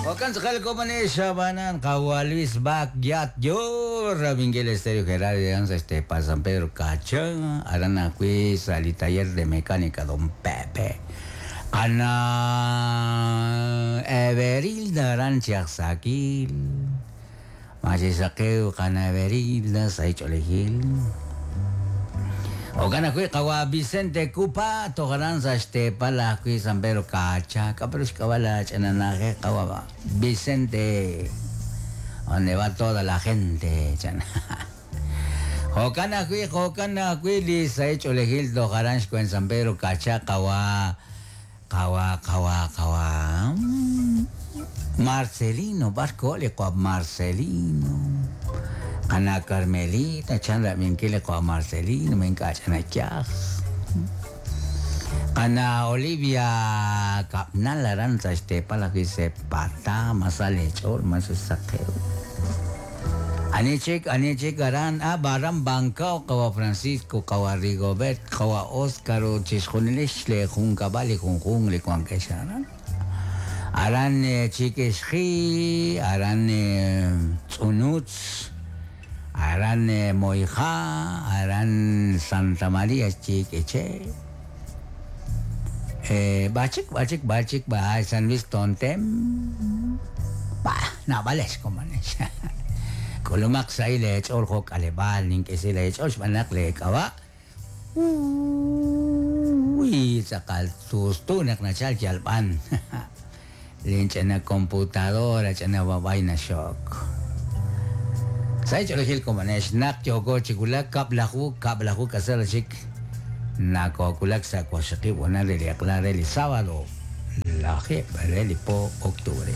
Jo'kan tz'aqal komonex ab'anan qawa' Luis Bac Yat yo rab'inkil Estéreo Gerardo aran sa' xteepal San Pedro Kacha, aran ajwi' sa' li taller de mecánica Don Pepe. Qana Everilda aran chi aj Sakil. Ma chi saqew qana Everilda sa' ch'oolejil. Jo'kan ajwi' qawa' Vicente Cupa toj aran sa' xteepal ajwi' San Pedro Kacha. K'a' pe ru xk'ab'a' la ch'ina na'ajej qawa' Vicente donde va toda la gente chan. Jo'kan ajwi' jo'kan ajwi' li sahil ch'oolejil toj aran xwen San Pedro Kacha qawa' qawa' qawa' qawa' Marcelino, b'ar koho li qawa' Marcelino. Qana' Carmelita chan rab'inkil li qawa' Marcelino ma ink'a' ch'ina yaj. Qana' Olivia Kab'nal aran sa' xteepal ajwi' Sepatá, ma sa leech'ool ma sa xsaqew. Ani chik, ani chik aran, ah, aran Bancao qawa' Francisco, qawa' Rigobert, qawa' Oscar ut chixjunilix li junkab'al li junjunq li wankex aran. Aran Chikixji, aran Tz'unutz, aran Moija, aran Santa María Chiq'uiche. B'achik, b'achik, b'achik, b'a San Luis Tontem. Bah, naab'alex komonex. K'ulumaq sahil leech'ool jo' k'aleb'aal nink'isi leech'ool xb'aan naq leek'ab'a' Uy, tz'aqal tustu naq nachalk yalb'an. Linch'ina computadora ch'ina b'ab'ay naxok. Sa' ch'oolejil komonex naq yooko chi wulak kab'laju, kab'laju k'asal chik nakoowulak sa' waqxaqib' honal re li eq'la re li sábado lajeeb' re li po octubre.